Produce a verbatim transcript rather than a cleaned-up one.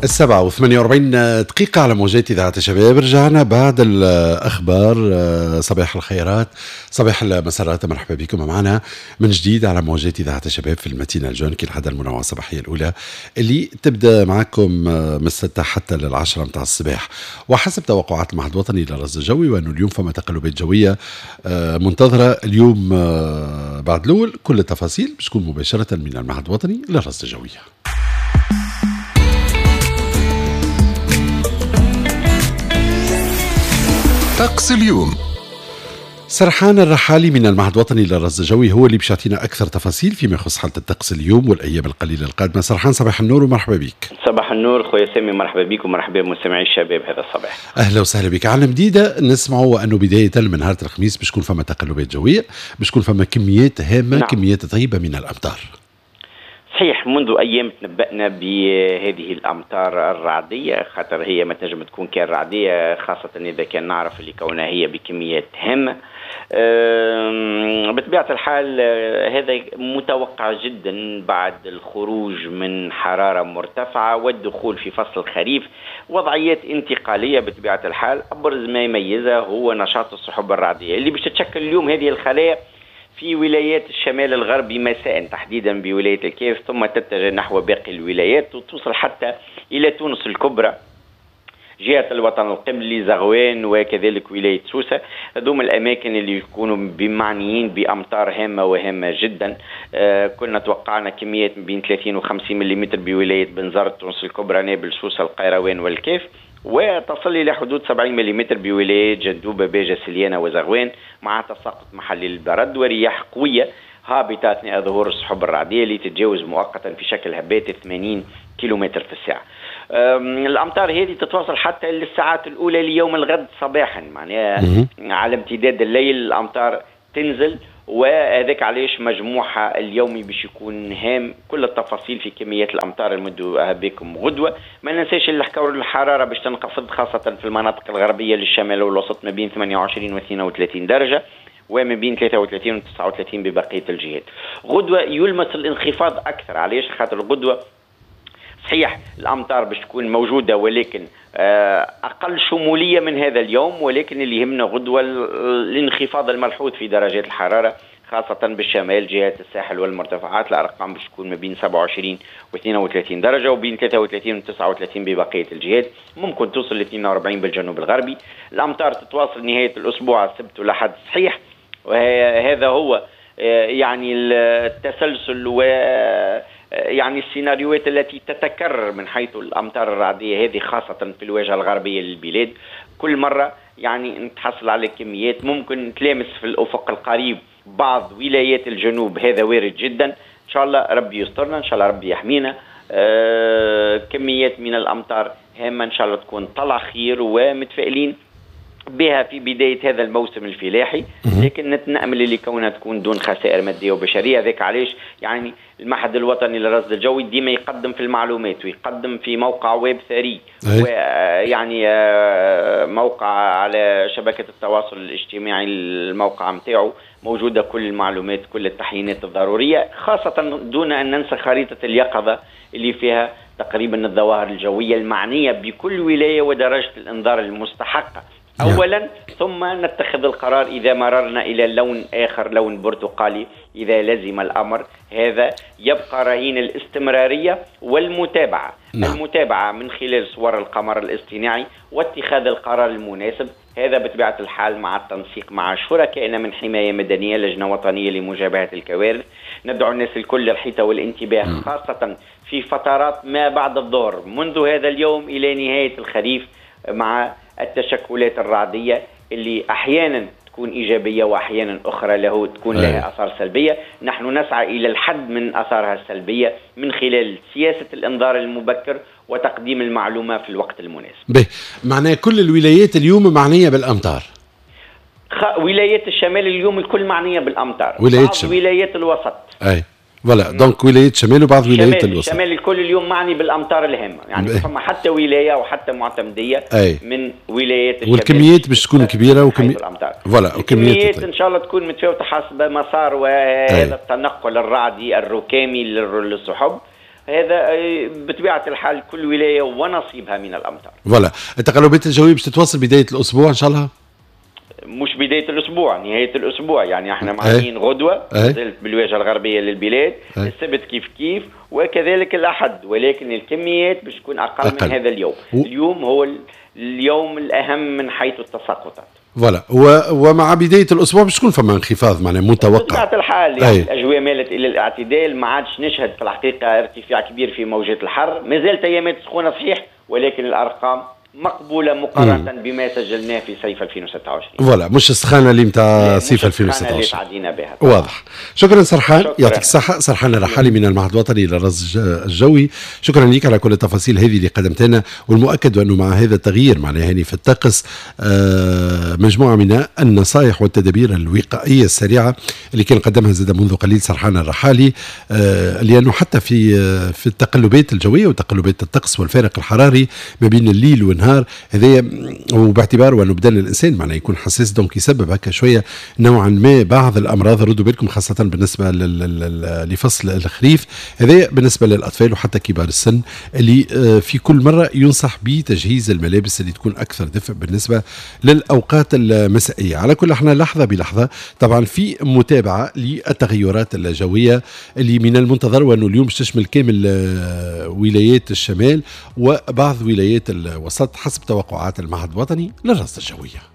السبعة وثمانية وأربعين دقيقة على موجات إذاعة الشباب. رجعنا بعد الأخبار. صباح الخيرات، صباح المسرات، مرحبا بكم معنا من جديد على موجات إذاعة الشباب في ال matinale jaune كالعادة المنوعة الصباحية الأولى اللي تبدأ معكم من الستة حتى للعشرة متاع الصباح. وحسب توقعات المعهد الوطني للرصد الجوي وأنه اليوم فما تقلبات جوية منتظرة اليوم بعد الأول. كل التفاصيل باش تكون مباشرة من المعهد الوطني للرصد الجوي. طقس اليوم. سرحان الرحالي من المعهد الوطني للرصد الجوي هو اللي باش يعطينا أكثر تفاصيل فيما يخص حالة الطقس اليوم والأيام القليلة القادمة. سرحان صباح النور ومرحبا بك. صباح النور خويا سامي، مرحبا بك ومرحبا بمستمعي الشباب هذا الصباح. أهلا وسهلا بك. على مديدة نسمعوا أنه بداية من نهار الخميس باش تكون فما تقلبات جوية، باش تكون فما كميات هامة، نعم. كميات طيبة من الأمطار. صحيح، منذ أيام تنبأنا بهذه الأمطار الرعدية، خاطر هي ما تنجم تكون كان رعدية، خاصة إذا كان نعرف اللي كونها هي بكميات هامة. بطبيعة الحال هذا متوقع جدا بعد الخروج من حرارة مرتفعة والدخول في فصل الخريف، وضعيات انتقالية بطبيعة الحال. أبرز ما يميزها هو نشاط السحب الرعدية اللي باش تتشكل اليوم هذه الخلايا في ولايات الشمال الغربي مساء، تحديدا بولاية الكاف، ثم تتجه نحو باقي الولايات وتوصل حتى إلى تونس الكبرى، جهة الوطن القبلي، زغوان، وكذلك ولاية سوسة. هذوما الأماكن اللي يكونوا بمعنيين بأمطار هامة وهامة جدا. آه كنا توقعنا كميات بين ثلاثين وخمسين ملم بولاية بنزرت، تونس الكبرى، نابل، سوسة، القيروان والكاف، وتصل إلى حدود سبعين ملم بولاية جندوبة، باجة، سليانة وزغوان، مع تساقط محلي للبرد ورياح قوية هابطة أثناء ظهور السحب الرعدية اللي تتجاوز مؤقتا في شكل هبات ثمانين كيلومتر في الساعة. الأمطار هذه تتواصل حتى للساعات الأولى ليوم الغد صباحا، معناها على امتداد الليل الأمطار تنزل، وهذاك علاش مجموعها اليومي باش يكون هام. كل التفاصيل في كميات الامطار المدوها بكم غدوه. ما ننساش اللي حكاو الحرارة باش تنخفض خاصة في المناطق الغربية للشمال والوسط ما بين ثمانية وعشرين و اثنين وثلاثين درجه، وما بين ثلاثة وثلاثين و تسعة وثلاثين ببقية الجهات. غدوه يلمس الانخفاض اكثر، علاش؟ خاطر غدوه صحيح الامطار باش تكون موجودة ولكن اقل شمولية من هذا اليوم، ولكن اللي يهمنا غدوه الانخفاض الملحوظ في درجات الحرارة خاصة بالشمال، جهات الساحل والمرتفعات. الارقام باش تكون ما بين سبعة وعشرين و اثنين وثلاثين درجه، وبين ثلاثة وثلاثين و تسعة وثلاثين ببقية الجهات، ممكن توصل ل اثنين وأربعين بالجنوب الغربي. الامطار تتواصل نهاية الاسبوع السبت والاحد صحيح، وهذا هو يعني التسلسل و يعني السيناريوهات التي تتكرر من حيث الأمطار الرعدية هذه خاصة في الواجهة الغربية للبلاد. كل مرة يعني نتحصل على كميات ممكن تلامس في الأفق القريب بعض ولايات الجنوب، هذا وارد جدا. إن شاء الله ربي يسترنا، إن شاء الله ربي يحمينا. آه كميات من الأمطار هامة إن شاء الله تكون طلع خير ومتفائلين بها في بداية هذا الموسم الفلاحي، لكن نأمل اللي كونها تكون دون خسائر مادية وبشرية. ذاك علاش يعني المعهد الوطني للرصد الجوي ديما يقدم في المعلومات ويقدم في موقع ويب ثري، ويعني موقع على شبكة التواصل الاجتماعي، الموقع متاعه موجودة كل المعلومات، كل التحيينات الضرورية، خاصة دون أن ننسى خريطة اليقظة اللي فيها تقريبا الظواهر الجوية المعنية بكل ولاية ودرجة الإنذار المستحقة أولا، ثم نتخذ القرار إذا مررنا إلى لون آخر، لون برتقالي إذا لزم الأمر. هذا يبقى رهين الاستمرارية والمتابعة. نعم. المتابعة من خلال صور القمر الاصطناعي واتخاذ القرار المناسب، هذا بطبيعة الحال مع التنسيق مع شركائنا من حماية مدنية، لجنة وطنية لمجابهة الكوارث. ندعو الناس الكل للحيطة والانتباه، خاصة في فترات ما بعد الظهر منذ هذا اليوم إلى نهاية الخريف، مع التشكلات الرعدية اللي أحيانا تكون إيجابية وأحيانا أخرى له تكون لها آثار سلبية. نحن نسعى إلى الحد من آثارها السلبية من خلال سياسة الإنذار المبكر وتقديم المعلومة في الوقت المناسب. به معناه كل الولايات اليوم معنية بالأمطار. خ... ولايات الشمال اليوم الكل معنية بالأمطار، ولايات بعض ولايات الوسط. أي voilà donc ولاية شمال وبعض ولايات الوسط. الشمال الكل اليوم معني بالامطار الهامة، يعني فما حتى ولاية وحتى معتمديه أي. من ولايات الشمال، والكميات باش تكون كبيرة وكميات voilà وكميات ان شاء الله تكون متفاوتة حسب مسار وهذا التنقل الرعدي الركامي للسحب. هذا بطبيعة الحال كل ولاية ونصيبها من الامطار. voilà، التقلبات الجوية باش تتواصل بداية الاسبوع ان شاء الله؟ مش بداية الاسبوع، نهاية الاسبوع، يعني احنا معنيين غدوه زلت بالواجهه الغربية للبلاد، أي. السبت كيف كيف، وكذلك الاحد، ولكن الكميات باش تكون اقل, أقل من هذا اليوم. و... اليوم هو اليوم الاهم من حيث التساقطات. voilà، و... ومع بداية الاسبوع باش تكون فما انخفاض معناها متوقع. بطبيعة الحال يعني أي. الاجواء مالت الى الاعتدال، ما عادش نشهد في الحقيقة ارتفاع كبير في موجات الحر، ما زالت ايامات سخونة صحيح، ولكن الارقام مقبولة مقارنة مم. بما سجلناه في صيف ألفين وستة وعشرين. voilà، مش السخانه اللي نتاع صيف ألفين وستة وعشرين اللي تعدينا بها. واضح. شكرا سرحان، شكرا. يعطيك الصحة سرحان الرحالي من المعهد الوطني للرصد الجوي، شكرا لك على كل التفاصيل هذه اللي قدمت لنا، والمؤكد انه مع هذا التغيير معناها يعني في الطقس آه مجموعة من النصائح والتدابير الوقائية السريعة اللي كان قدمها زاد منذ قليل سرحان الرحالي، آه لانه حتى في آه في التقلبات الجوية وتقلبات الطقس والفارق الحراري ما بين الليل والنهار هذايا، وباعتبار وانه بدن الانسان معناه يكون حساس donc يسبب هكا شوية نوعا ما بعض الامراض، ردوا بالكم خاصة بالنسبة لفصل الخريف هذايا بالنسبة للاطفال وحتى كبار السن اللي في كل مرة ينصح بتجهيز الملابس اللي تكون اكثر دفء بالنسبة للاوقات المسائيه. على كل احنا لحظة بلحظة طبعا في متابعه للتغيرات الجوية اللي من المنتظر وانه اليوم تشمل كامل ولايات الشمال وبعض ولايات الوسط حسب توقعات المعهد الوطني للرصد الجوية.